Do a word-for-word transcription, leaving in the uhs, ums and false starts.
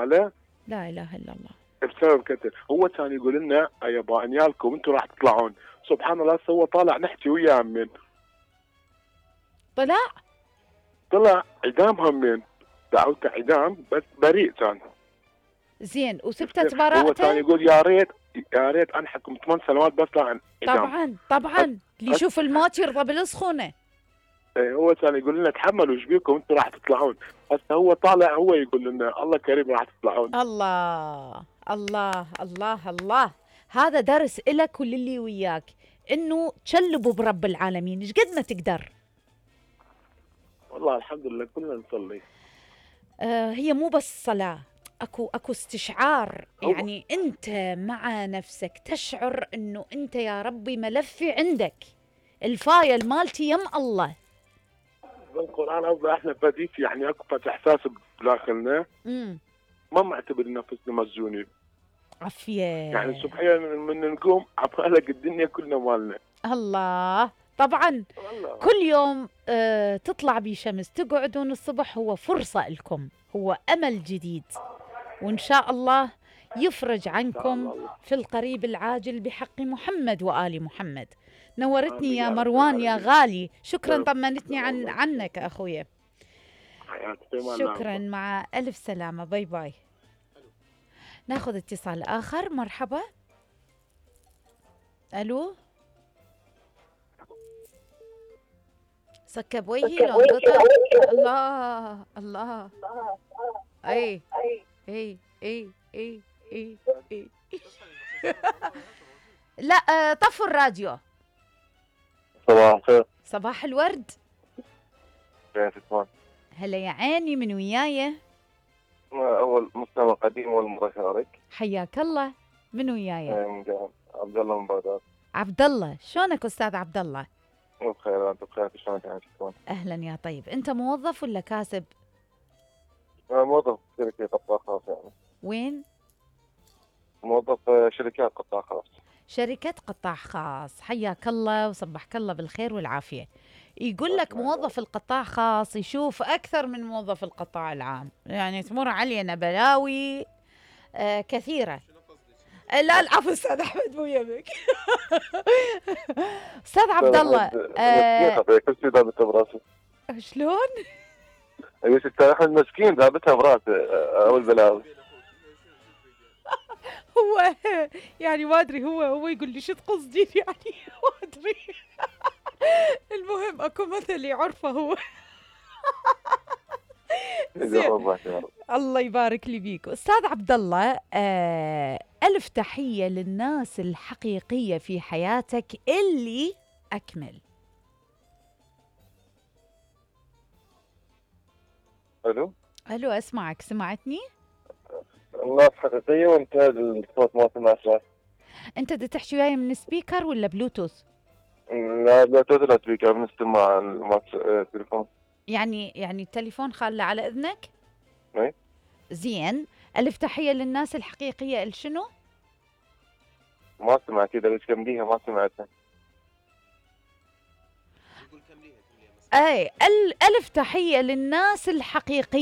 عليه؟ لا اله الا الله. بسبب كذا هو كان يقول لنا يابا انيالكم انتم راح تطلعون. سبحان الله هو طالع نحكي وياه همين. طلع؟ طلع اعدام همين. دعوته اعدام بس بريء كان. زين وثبتت هو براءته؟ كان يقول يا ريت يا ريت انحكم ثمان سنوات بس لا اعدام. طبعا طبعا اللي يشوف الموت يرضى بالسخونه. هو كان يقول لنا تحملوا ايش بيكم انتم راح تطلعون. هسه هو طالع هو يقول لنا الله كريم راح تطلعون. الله الله الله الله. هذا درس إلك وللي وياك انه تشلبوا برب العالمين ايش قد ما تقدر. والله الحمد لله كلنا نصلي. آه هي مو بس صلاة، اكو اكو استشعار، هو. يعني انت مع نفسك تشعر انه انت يا ربي ملفي عندك، الفايل مالتي يم الله. بالقرآن أوضح احنا بديت يعني اكو احساس بداخلنا. امم ما معتبر نفسنا مسجونين. عافية. يعني سبحان من نقوم عبالك الدنيا كلنا مالنا. الله. طبعا الله. كل يوم آه تطلع بشمس تقعدون الصبح هو فرصة لكم، هو أمل جديد، وإن شاء الله يفرج عنكم في القريب العاجل بحق محمد وآل محمد. نورتني يا مروان يا غالي، شكرا طمنتني عن عنك أخويا. شكرا مع ألف سلامة. باي باي. ناخذ اتصال آخر. مرحبا. ألو. سكب وجهي لو انقطع. الله الله. اي اي اي اي اي اي لا طفوا الراديو. صباح الخير. صباح الورد. كيفك؟ هلا يا عيني، من وياي؟ اول مستمع قديم اول مره اشارك. حياك الله. من وياي؟ عبد الله من بغداد. عبد الله، شلونك استاذ عبد الله؟ بخير. انت بخير؟ شلونك يعني تكون؟ اهلا يا طيب. انت موظف ولا كاسب؟ موظف شركه قطاع خاص يعني. وين؟ موظف شركات قطاع خاص. شركة قطاع خاص. حياك الله وصبحك الله بالخير والعافية. يقول لك موظف القطاع خاص يشوف أكثر من موظف القطاع العام، يعني تمر علينا بلاوي آه كثيرة. لا العفو استاذ احمد مو يمك. استاذ عبد الله آه كل شيء ذابتها براسي. شلون؟ ايش استاذ احمد مسكين ذابتها براسي اول بلاوي. هو يعني ما ادري، هو هو يقول لي شو تقصدين يعني ما ادري. المهم اكو مثل يعرفه هو. الله يبارك لي بيك استاذ عبد الله. آه الف تحيه للناس الحقيقيه في حياتك اللي اكمل. الو الو اسمعك. سمعتني؟ الناس حقيقيه وانت الصوت ما سمعت. انت بدك تحكي وياي من سبيكر ولا بلوتوث؟ لا بلوتوث ولا سبيكر، من استماع التليفون. يعني يعني التليفون خاله على اذنك؟ اي زين. الف تحيه للناس الحقيقيه الشنو؟ ما سمعت كذا بس كمليها ما سمعتها. اي الف تحيه للناس الحقيقيه